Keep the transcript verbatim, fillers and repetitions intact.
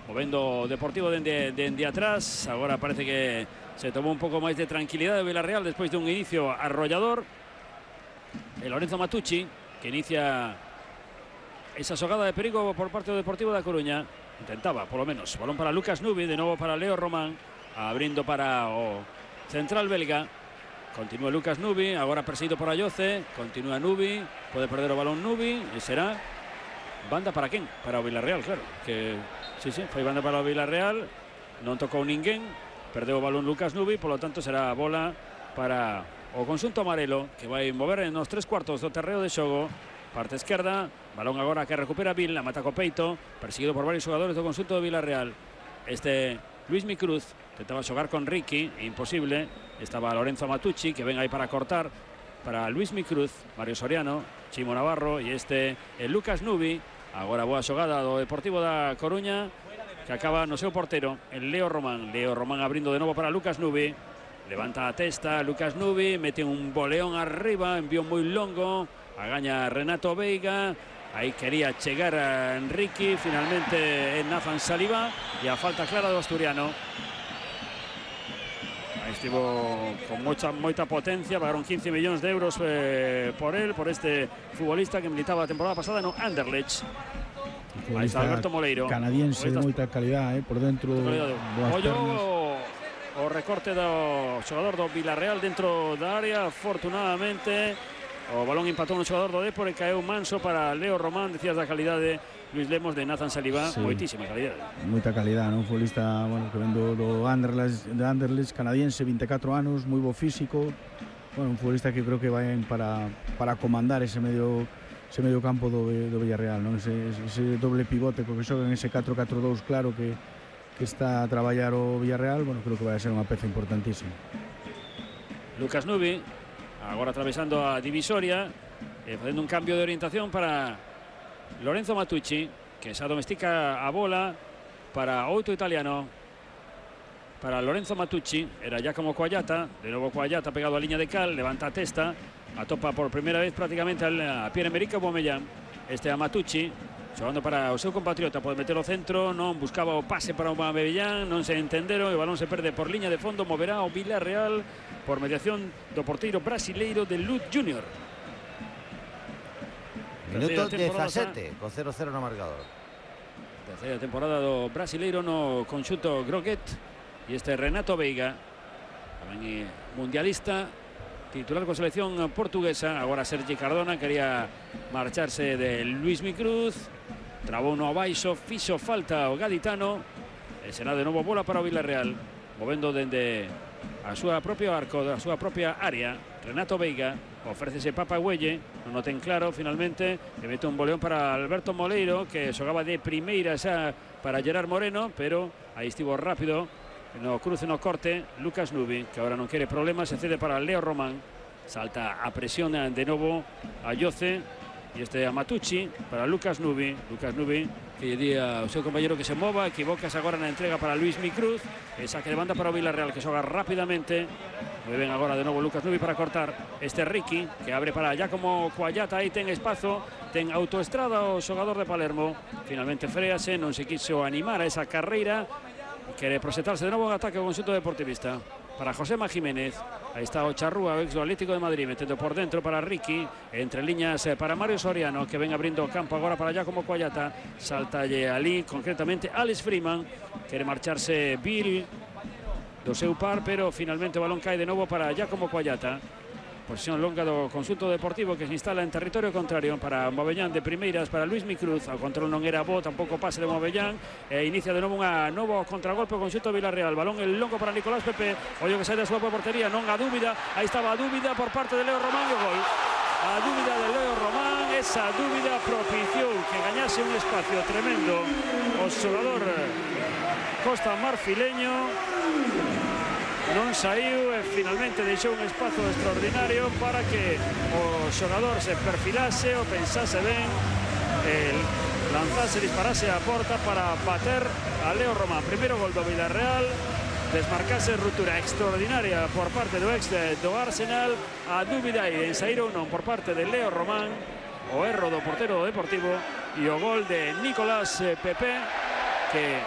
movendo Deportivo dende, dende atrás. Agora parece que se tomou un pouco máis de tranquilidade o Villarreal despois dun inicio arrollador. El Lorenzo Matucci, que inicia esa xogada de perigo por parte do Deportivo da Coruña. Intentaba, polo menos. Balón para Lucas Nubi, de novo para Leo Román, abrindo para o central belga. Continúa Lucas Nubi, agora perseguido por Ayoce. Continúa Nubi, pode perder o balón Nubi e será banda para quen? Para o Villarreal, claro. Que sí, sí, foi banda para o Villarreal. Non tocou ninguén, perdeu o balón Lucas Nubi, polo tanto será bola para o conxunto amarelo, que vai mover nos tres cuartos do terreo de xogo. Parte esquerda, balón agora que recupera Vil, la mata co peito, perseguido por varios xogadores do conxunto do Villarreal. Este Luismi Cruz intentaba xogar con Ricky, imposible. Estaba Lorenzo Matucci, que ven aí para cortar para Luismi Cruz, Mario Soriano, Chimo Navarro e este el Lucas Nubi. Agora boa xogada do Deportivo da Coruña, que acaba no seu portero, el Leo Román. Leo Román abrindo de novo para Lucas Nubi. Levanta a testa Lucas Nubi, mete un boleón arriba, envío moi longo. Agaña Renato Veiga, aí quería chegar a Enrique, finalmente en Nathan Saliba e a falta clara do asturiano. Aí estivo con moita, moita potencia, pagaron quince millóns de euros eh, por él, por este futbolista que militaba a temporada pasada no Anderlecht. Aí está Alberto Moleiro, canadiense de moita calidad, eh, por dentro. Ollo o recorte do xogador do Villarreal dentro da área, afortunadamente. O balón empatou no xogador do Depor e caeu manso para Leo Román. Decías da calidade, Luis Lemos, de Nathan Saliba, sí. Moitísima calidade. Moita calidade, non? Futbolista, bueno, que vendo do Anderlecht, de Anderlecht, canadiense, vinte e catro anos, moi bo físico. Bueno, un futbolista que creo que vai para para comandar ese medio ese medio campo do, do Villarreal, non? Ese, ese doble pivote co que xoga en ese catro catro dous, claro que que está a traballar o Villarreal, bueno, creo que vai a ser unha peza importantísima. Lucas Nubi, agora atravesando a divisoria, eh, facendo un cambio de orientación para Lorenzo Matucci, que xa domestica a bola para outro italiano, para Lorenzo Matucci. Era Giacomo Coagliata, de novo Coagliata pegado a liña de cal, levanta a testa, atopa por primeira vez prácticamente a Pierre-Emerick Aubameyang. Este a Matucci, xogando para o seu compatriota, pode meter o centro, non buscaba o pase para Aubameyang, non se entenderon, o balón se perde por liña de fondo, moverá o Villarreal por mediación do porteiro brasileiro de Luz Junior. Minuto dezasete, con cero cero no marcador. Terceira temporada do brasileiro no conxunto Groguet. E este Renato Veiga, tamén mundialista, titular con selección portuguesa. Agora Sergi Cardona quería marcharse de Luismi Cruz, trabou no abaixo, fixo falta o gaditano, e será de novo bola para o Villarreal, movendo dende a súa propio arco, da súa propia área. Renato Veiga ofrécese Papa Güelle, non o ten claro finalmente, e mete un boleón para Alberto Moleiro, que xogaba de primeira xa para Gerard Moreno, pero aí estivo rápido no cruce, no corte Lucas Nubi, que agora non quere problemas, se cede para Leo Román. Salta a presión de novo a Ayoce, e este a Matucci para Lucas Nubi. Lucas Nubi que lle di ao seu compañero que se mova, equivocas agora na entrega para Luismi Cruz, e saque de banda para o Villarreal, que xoga rápidamente. Moi ben agora de novo Lucas Nubi para cortar. Este Ricky, que abre para Giacomo Coagliata, aí ten espazo, ten autoestrada o xogador de Palermo. Finalmente frease, non se quiso animar a esa carreira, quere proxetarse de novo en ataque o conxunto deportivista. Para Josema Jiménez, aí está o Charrúa, o ex do Atlético de Madrid, metendo por dentro para Ricky, entre liñas para Mario Soriano, que ven abrindo o campo agora para Giacomo Coagliata. Saltalle ali, concretamente Alex Freeman, quere marcharse Bill do seu par, pero finalmente o balón cae de novo para Giacomo Coagliata. Posición longa do conxunto deportivo, que se instala en territorio contrario para Aubameyang de primeiras, para Luismi Cruz. O control non era bo, tampouco pase de Aubameyang, e inicia de novo unha novo contragolpe o conxunto Villarreal. Balón el longo para Nicolás Pepe, ollo que sai da súa portería, non a dúbida, aí estaba a dúbida por parte de Leo Román, e o gol. A dúbida de Leo Román, esa dúbida propiciou que gañase un espacio tremendo o xogador Costa Marfileño. Non saiu e finalmente deixou un espazo extraordinario para que o xogador se perfilase o pensase ben, el lanzase, disparase a porta para bater a Leo Román. Primeiro gol do Villarreal, desmarcase, ruptura extraordinaria por parte do ex do Arsenal. A dúbida aí en sair ou non por parte de Leo Román, o erro do portero do Deportivo e o gol de Nicolás Pepe, que